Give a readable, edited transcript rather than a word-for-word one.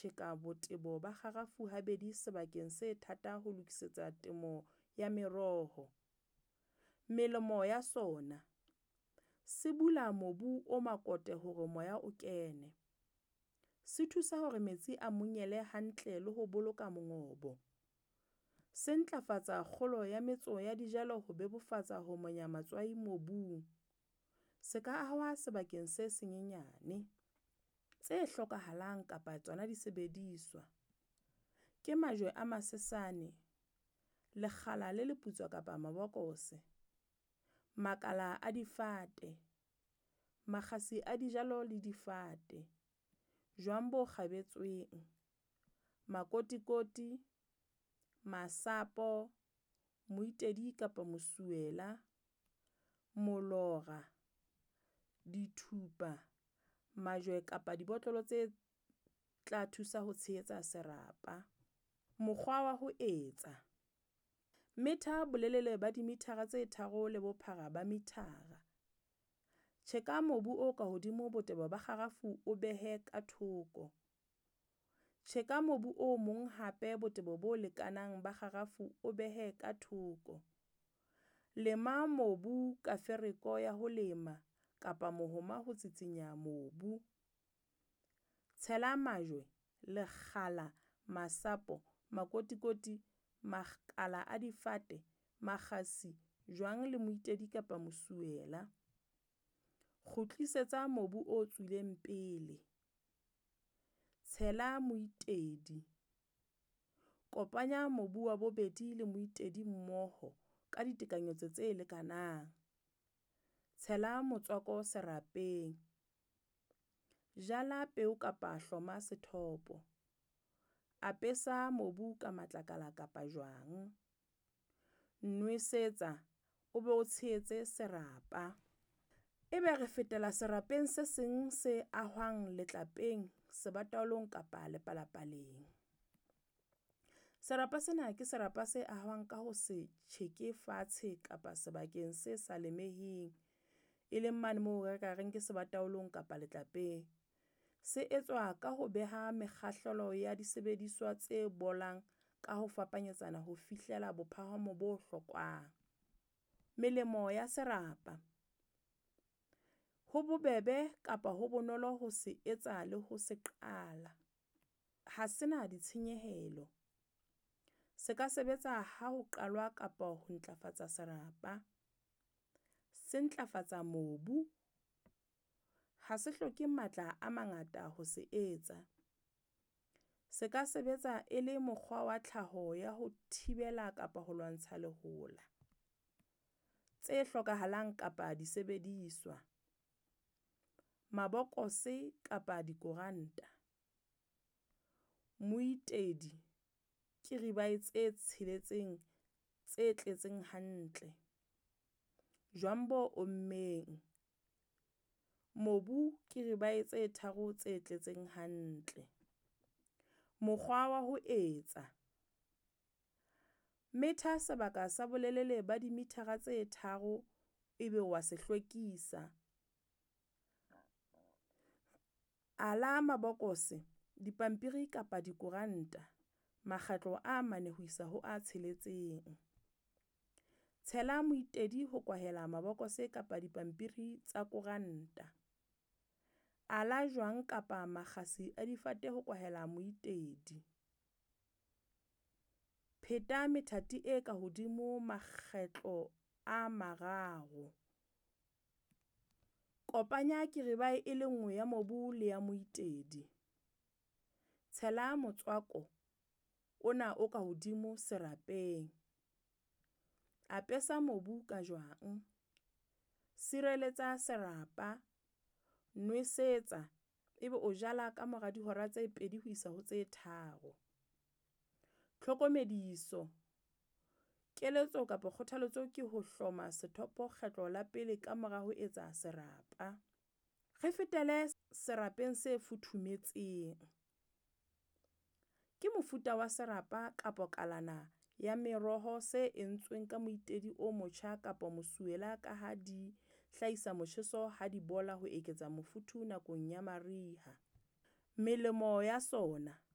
tjheka botebo ba kgarafu habedi sebakeng se thata ho lokisetsa temo ya meroho. Melemo ya sona, se bula mobu o makote hore moya o kene. Se thusa hore metsi a monyele hantle le ho boloka mongobo. Se ntlafatsa kgolo ya metso ya dijalo ho bebofatsa ho monya matswai mobung. Se ka ahwa sebakeng se senyenyane. Tse hlokahalang kapa tsona disebediswa, ke majwe a masesane, lekgala le leputswa kapa mabokose, makala a difate, makgasi a dijalo le difate, jwang bo kgabetsweng, makotikoti, masapo, moitedi kapa mosuwela, molora, dithupa, majwe kapa dibotlolo tse tla thusa ho tshehetsa serapa. Mokgwa wa ho etsa, metha bolelele ba dimithara tse 3 le bophara ba mithara. Tjheka mobu o ka hodimo botebo ba kgarafu o behe ka thoko. Tjheka mobu o mong hape botebo bo lekanang ba kgarafu o behe ka thoko. Lema mobu ka fereko ya ho lema kapa mohoma ho tsitsinya mobu. Tshela majwe, lekgala, masapo, makotikoti, makala a difate, makgasi, jwang le moitedi kapa mosuwela. Kgutlisetsa mobu o tswileng pele. Tshela moitedi. Kopanya mobu wa bobedi le moitedi mmoho ka ditekanyetso tse lekanang. Tshela motswako serapeng. Jala peo kapa hloma sethopo. Apesa mobu ka matlakala kapa jwang. Nwesetsa, o be o tshehetse serapa. Ebe re fetela serapeng se seng se ahwang letlapeng, sebataolong kapa lepalapaleng. Serapa sena ke serapa se ahwang ka ho se tjheke fatshe kapa sebakeng se sa lemeheng. E leng mane moo re ka reng ke sebataolong kapa letlapeng. Se etswa ka ho beha mekgahlelo ya disebediswa tse bolang ka ho fapanyetsana ho fihlela bophahamo bo hlokwang. Melemo ya serapa, ho bobebe kapa ho bonolo ho se etsa le ho se qala. Ha sena ditshenyehelo. Se ka sebetsa ha ho qalwa kapa ho ntlafatsa serapa. Se ntlafatsa mobu. Ha se hloke matla a mangata ho se etsa. Se ka sebetsa e le mokgwa wa tlhaho ya ho thibela kapa ho lwantsha lehola. Tse hlokahalang kapa disebediswa, mabokose kapa dikoranta, moitedi ke ribae tse tsheletseng tse tletseng hantle, jwang bo ommeng, mobu ke ribae tse tharo tse tletseng hantle. Mokgwa wa ho etsa, metha sebaka sa bolelele ba dimithara tse 3 ebe wa se hlwekisa. Ala mabokose, dipampiri kapa dikoranta makgetlo a 4 ho isa ho a 6. Tshela moitedi ho kwahela mabokose kapa dipampiri tsa koranta. Ala jwang kapa makgasi a difate ho kwahela moitedi. Pheta methati e ka hodimo makgetlo a 3. Kopanya kiribae e le nngwe ya mobu le ya moitedi. Tshela motswako ona o ka hodimo serapeng. Apesa mobu ka jwang. Sireletsa serapa, nwesetsa ebe o jala ka mora dihora tse 2 ho isa ho tse 3. Tlhokomediso, keletso kapa kgothaletso ke ho hloma sethopo kgetlo la pele ka mora ho etsa serapa. Re fetele serapeng se futhumetseng. Ke mofuta wa serapa kapa kalana ya meroho se entsweng ka moitedi o motjha kapa mosuwela ka ha di hlahisa motjheso ha di bola ho eketsa mofuthu nakong ya mariha. Melemo ya sona.